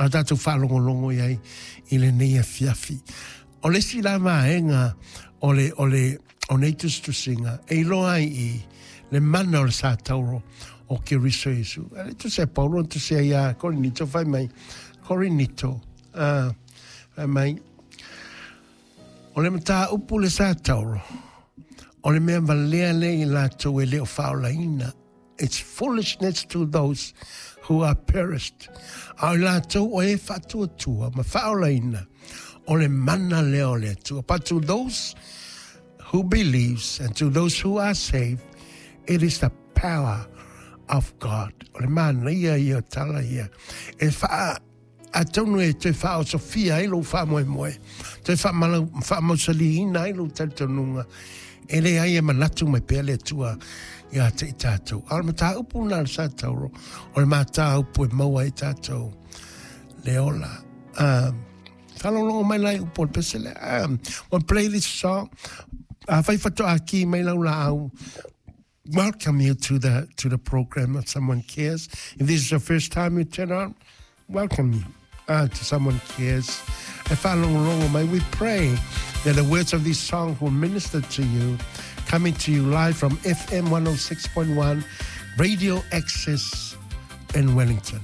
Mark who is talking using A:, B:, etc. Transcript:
A: A tatou faalogologo i ai i lenei afiafi. O le isi la vaega o le, o le, o nei tusitusiga, e iloa ai i le mana o le satauro o Keriso Iesu. E le tusi a Paulo na tusi ai ia Korinito, fai mai, Korinito, fai mai, o le mataupu le satauro, o le mea valea lea i latou e le o faaolaina. It's foolishness to those who are perished. A o i latou o e faatuatua ma faaolaina, o le mana lea o le Atua. But to those who believes and to those who are saved, it is the power of God. O le manaia ia o tala ia. E wha, atonu e toe faaosofia ai lou faamoemoe, toe faamausaliina ai lou talitonuga, e leai e manatu mai pea le Atua ia te i tatou. A o le mataupu lena a le Satauro, o le mataupu e maua ai tatou le ola. Um, Faalogologo mai la i upu o le pese lea. Um, we'll play this song. Afai faatoa kī mai lau laau, welcome you to the to the program if someone cares. If this is your first time you turn on, welcome you to someone cares. E whaalongolongo mai, we pray that the words of this song will minister to you, coming to you live from FM 106.1 Radio Access in Wellington.